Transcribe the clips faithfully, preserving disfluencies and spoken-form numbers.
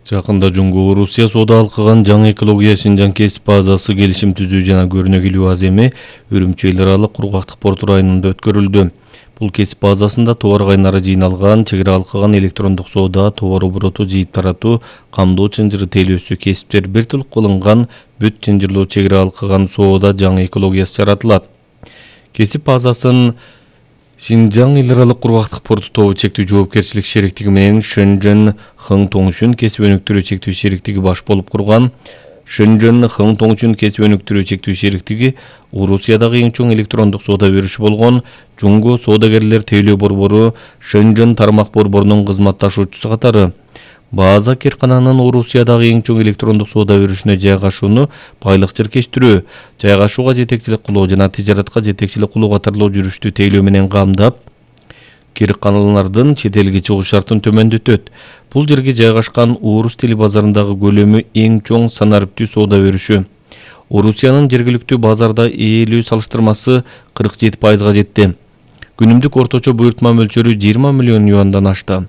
Жакында Жунго Орусия соода алкыган жаңы экология Шинжаң кесип базасы келишим түзүү жана көрүнөгүлүү аземи Үрүмчү эл аралык кургактык порту районунда өткөрүлдү. Бул кесип базасында товар кайнары жыйналган, чегара алкыган электрондук соода, товар обороту жыйып таратуу, камдоо чынжыры тейлөөсү кесиптер бир тил кылынган бүт чынжырлоо чегара алкыган соода жаңы экологиясы жаратылат. Кесип базасын Шинжаң эл аралык кургактык порту тобу чектүү жоопкерчилик шериктиги менен Шэньчжэн Хың Тоңчун кесип өнүктүрүү чектүү шериктиги баш болуп курган. Шэньчжэн Хың Тоңчун кесип өнүктүрүү чектүү шериктиги Орусиядагы эң чоң электрондук соода берүүчү болгон Жунго соодагерлер тейлөө борбору Шэньчжэн тармак борборунун кызматташуучусу катары. База Керкананын Орусиядагы эң чоң электрондук соода берүүчүнө жайгашууну байлык жиркештирүү, жайгашууга жетекчилик кылуу жана тижаратка жетекчилик кылуу катарлуу жүрүштү тейлөө менен камдап, Керканалардын чет элге чыгуу шартын төмөндөтөт. Бул жерге жайгашкан орус тили базарындагы көлөмү эң чоң санариптүү соода берүүчү. Орусиянын жергиликтүү базарда ээлүү салыштырмасы кырк жети пайызга жетти. Күнүмдүк орточо буйртма мөлчөрү жыйырма миллион юандан ашты.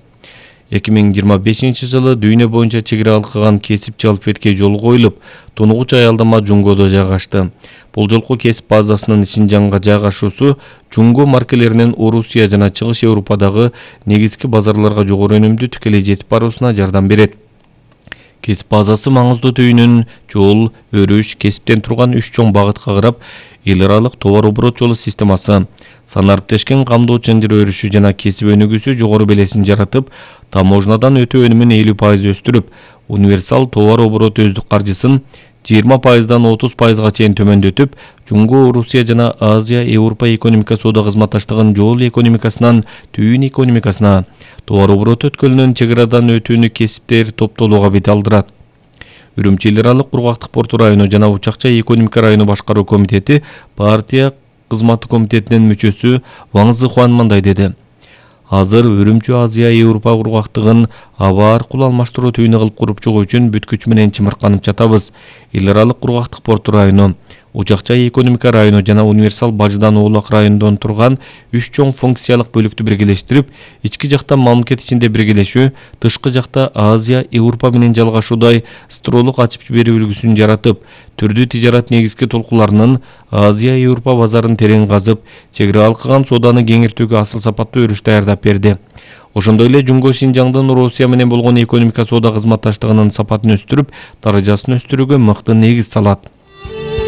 эки миң жыйырма бешинчи жылы дүйнө боюнча чегара алкыган кесип жалпетке жол коюлуп, тунугуч аялдама Жунгодо жайгашты. Бул жолку кесип базасынын Шинжаңга жайгашуусу Жунго маркелеринин Орусия жана Чыгыш Европадагы негизги базарларга жогору өнүмдүү тикелей жетип баруусуна жардам берет. Кесип базасы маңыздуу түйүнүн жол, өрүш, кесиптен турган үч чоң багытка карап, эл аралык товар оборот жолу системасы, санариптешкен камдоо чынжыры өрүшү жана кесип өнүгүүсү жогору белесин жаратып, таможнядан өтүү өнүмүн элүү пайыз өстүрүп, универсал товар оборот өздүк каржысын жыйырма пайыздан отуз пайызга чейин төмөндөтүп, Жунго Орусия жана Азия Европа экономика соода кызматташтыгынын жол экономикасынан түйүн экономикасына, товар оборот өткөлүнүн чегарадан өтүүнү кесиптер топтоолууга бет алдырат. Үрүмчү эл аралык кургактык порту району жана Учакча экономика району башкаруу комитети партия кызматы комитетинин мүчөсү Ваң Зыхуан мындай деди. Азыр Үрүмчү Азия Европа кургактыгын аба аркылуу алмаштыруу түйүнү кылып куруп чыгуу үчүн бүт күч менен чымырканып жатабыз. Эл аралык кургактык порту району, Учакча экономика району жана универсал бажыдан Оолак районунан турган үч чоң функциялык бөлүктү биргелештирип, ички жакта мамлекет ичинде биргелешүү, тышкы жакта Азия Европа менен жалгашуудай строолук ачып берүү үлгүсүн жаратып, түрдүү тижарат негизги толкуларынын Азия Европа базарын терең казып, чегара алкыган сооданы кеңиртүүгө асыл сапаттуу өрүш даярдап берди. Ошондой эле Жунго Шинжаңдын Орусия менен болгон экономика соода кызматташтыгынын сапатын өстүрүп, даражасын өстүрүүгө мыкты негиз салат.